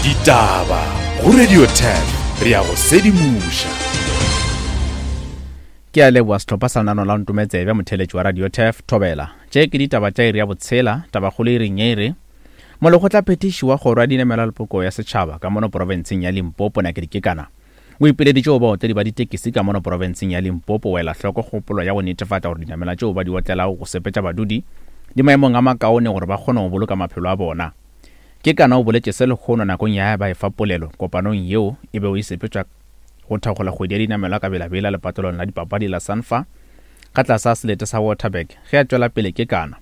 Ditaba go Radio 10 re ya go sedimoša. Ke a leboa sehlopha sa lenano la Ntometsebe motheeletši wa Radio Turf Thobela. Tše ke ditaba tša iri ya botshela, tabakgolo iring ye e re Molekgotlaphethiši wa kgoro ya dinamelwa le poko ya setšhaba ka mono porofenseng ya Limpopo Nakedi Kekana o ipileditše go baotledi ba ditekisi ka mono porofenseng ya Limpopo go ela hloko kgopolo ya go netefatša gore dinamelwa tšeo ba di otlelago go sepetša badudi di maemong a makaone gore ba kgone go boloka maphelo a bona. Kekana o boletše se lehono nakong ya ba efa polelo kopanong yeo e bego e sepetšwa go thakgola kgwedi ya dinamelwa ka belabela lepatlelong la dipapadi la Sanfa ka tlase ga selete sa Waterberg. Ge a tšwela pele Kekana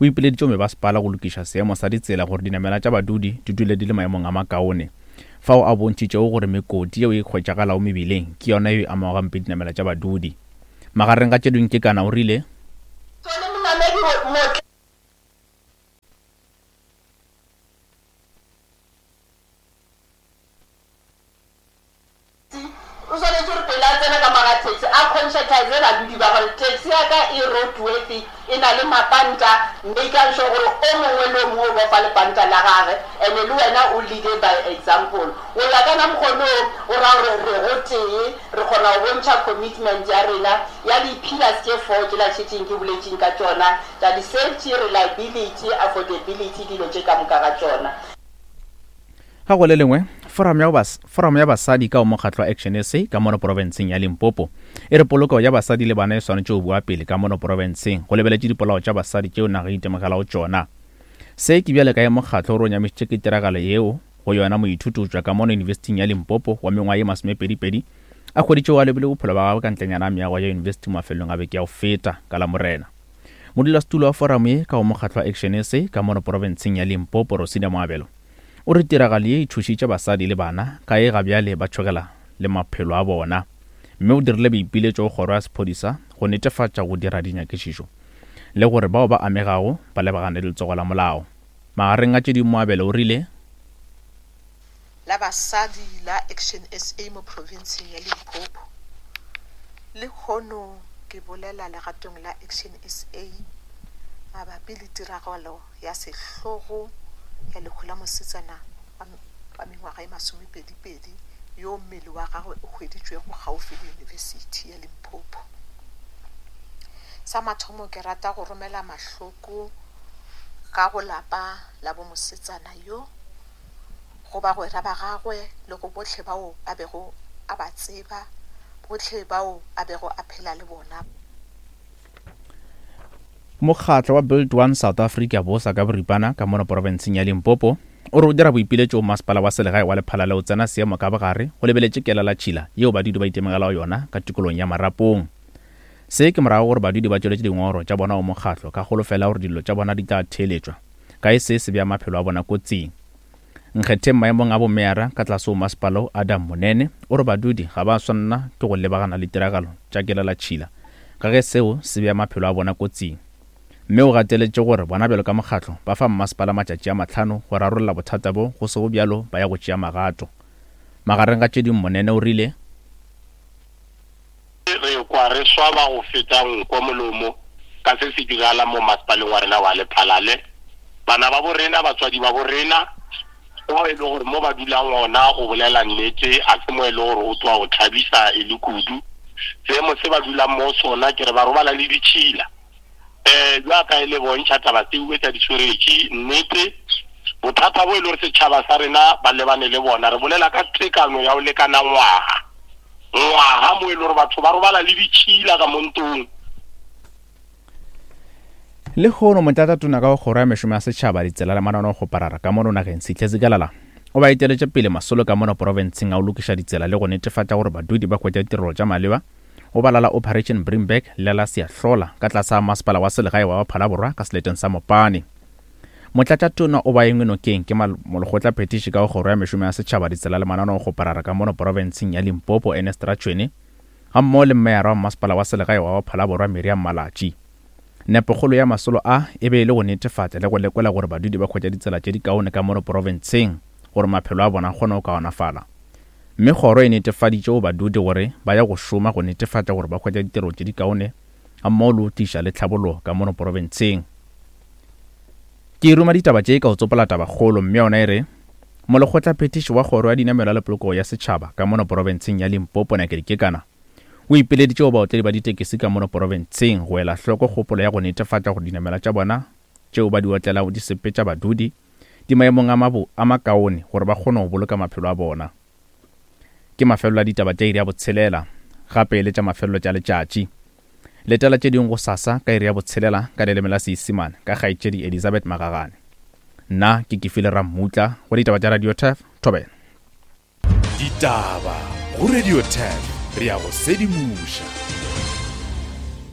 o ipileditše go mebasepala go lokiša seemo sa ditsela gore dinamelwa tša badudi di dule di le maemong a makaone, fao a bontšhitšego gore mekoti yeo e hwetšagalago mebileng ke yona yeo e amago gampe dinamelwa tša badudi. Magareng ga tše dingwe Kekana o rile. Tsone monamedi motla. O swanetše gore pele a tsena ka mo ga taxi a conscientize badudi ba gore taxi ya ka e roadworthy, e na le mapanta, makang sure gore o mongwe le o mongwe o bofa lepanta la gage and le wena o leade by example. Go ya ka na mokgonoo go ra gore re gotee, re kgona go bontšha commitment ya rena ya di-pillars tše four tšela šetšeng ke boletšeng ka tšona tša di-safety, reliability, affordability, dilo tše ka moka ga tšona. Ga go le lengwe, Foramo ya, bas, Foramo ya Basadi ka go mokgatlo wa Action SA ka mono porofenseng ya Limpopo e re polokego ya basadi le bana e swanetše go bua pele ka mono porofenseng go lebeletše dipolao tša basadi tšeo naga e itemogelago tšona. Se ke bjale ka ge mokgatlo o re o nyamišitše ke tiragalo yeo go yona moithuti go tšwa ka mono Yunibesithing ya Limpopo wa mengwaga ye masomepedipedi a hweditšego a lobile bophelo bja gagwe ka ntlenyana a meago ya yunibesithi mafelelong a beke ya go feta ka Lamorena. Modulasetulo wa foramo ye ka go mokgatlo wa Action SA ka mono porofenseng ya Limpopo Rosina Moabelo O re tiragalo ye e tšhošitše basadi le bana ka ge gabjale ba tšhogela le maphelo a bona mme o dirile boipiletšo go kgoro ya sephodisa go netefatša go dira dinyakišišo le gore bao ba amegago ba lebagane le letsogo la molao. Magareng a tše dingwe Moabelo o rile. La basadi la Action SA mo profenseng ya Limpopo. Lehono ke bolela legatong la Action SA mabapi le tiragalo ya sehlogo ya lehu la mosetsana wa mengwaga e masomepedipedi yo mmele wa gagwe o hweditšwego kgaufsi le Yunibesithi ya Limpopo. Sa mathomo ke rata go romela mahloko ka go lapa la bo mosetsana yo, go bagwera ba gagwe le go bohle bao a bego a ba tseba, bohle bao a bego a phela le bona. Mokgatlo wa Build One South Africa, BOSA ka boripana, ka mono porofenseng ya Limpopo, o re o dira boipiletšo go masepala wa selegae wa Lephalale o tsena seemo ka bogare go lebeletše kelelatšhila yeo badudi ba itemogelago yona ka tikolong ya Marapong. Se ke morago gore badudi ba tšweletše dingongoro tša bona go mokgatlo ka kgolofelo ya gore dillo tša bona di tla theeletšwa ka e se se bea maphelo a bona kotsing. Nkgetheng maemong a bomeyara ka tlase go masepala wo Adam Monene o re badudi ga ba swanela ke go lebagana le tiragalo tša kelelatšhila ka ge seo se bea maphelo a bona kotsing. Mme o gateletše gore bona bjalo ka mokgatlo ba fa mmasepala matšatši a mahlano go rarolla bothata bo go sego bjalo ba ya go tšea magato. Magareng ga tše dingwe Monene o rile. Re kwa re swaba go feta nko molomo ka se se diragalang mo masepaleng wa rena wa Lephalale. Bana ba bo rena, batswadi ba bo rena, bao e le gore mo ba dulang gona go bolela nnete a se mo e le gore o tloga o thabisa e le kudu. Seemo se ba dulang mo sona ke re ba robala le ditšhila. Um bjaka e le bontšha taba tseuwe tša disoretši nnete bothata bo e le gore setšhaba sa rena ba lebane le bona. Re bolela ka tekano ya go lekana ngwaga. Ngwaga mo e le gore batho ba robala le ditšhila ka mo ntong. Lehono Motlatšatona ka go Kgoro ya Mešomo ya Setšhaba, Ditsela le Mananeo-kgoparara ka mono nageng Sihle Zikalala o ba eteletše pele masolo ka mono porofenseng a go lokiša ditsela le go netefatša gore badudi ba hwetša ditirelo tša maleba go ba la la Operation Bring Back le la Siyahlola ka tlase ga Masepala wa Selegae wa Phalaborwa ka seleteng sa Mopani. Motlatšatona o ba engwe nokeng ke Molekgotla Phethiši ka go Kgoro ya Mešomo ya Setšhaba, Ditsela le Mananeo-kgoparara ka mono porofenseng ya Limpopo Ernest Ratšhwene gammogo le Meyara wa Mmasepala wa Selegae wa Phalaborwa Miriam Malatji. Nepokgolo ya masolo a e be e le go netefatša le go lekola gore badudi ba hwetša ditsela tše dikaone ka mono porofenseng gore maphelo a bona a kgone go kaonafala. Mme kgoro e netefaditše go badudi gore ba ya go šoma go netefatša gore ba hwetša ditirelo tše dikaone gammogo le go tliša le tlhabologo ka mono porofenseng. Ke ruma ditaba tše ka go tsopola tabakgolo mme yona e re. Molekgotlaphethiši wa Kgoro ya Dinamelwa le Polokego ya Setšhaba ka mono porofenseng ya Limpopo Nakedi Kekana o ipileditše go baotledi ba ditekesi ka mono porofenseng go ela hloko kgopolo ya go netefatša gore dinamelwa tša bona tšeo ba di otlelago di sepetša badudi di maemong a mabo a makaone gore ba kgone go boloka maphelo a bona. Ke mafelelo a ditaba tša iri ya botshelela, gape e le tša mafelelo tša letšatši. Letela tše dingwe gosasa ka iri ya botshelela ka leleme la Seisemane ka kgaetšedi Elizabeth Magagane. Nna ke Kefile Rammutla go ditaba tša Radio Turf, Thobela. Ditaba go Radio Turf, re a go sedimoša.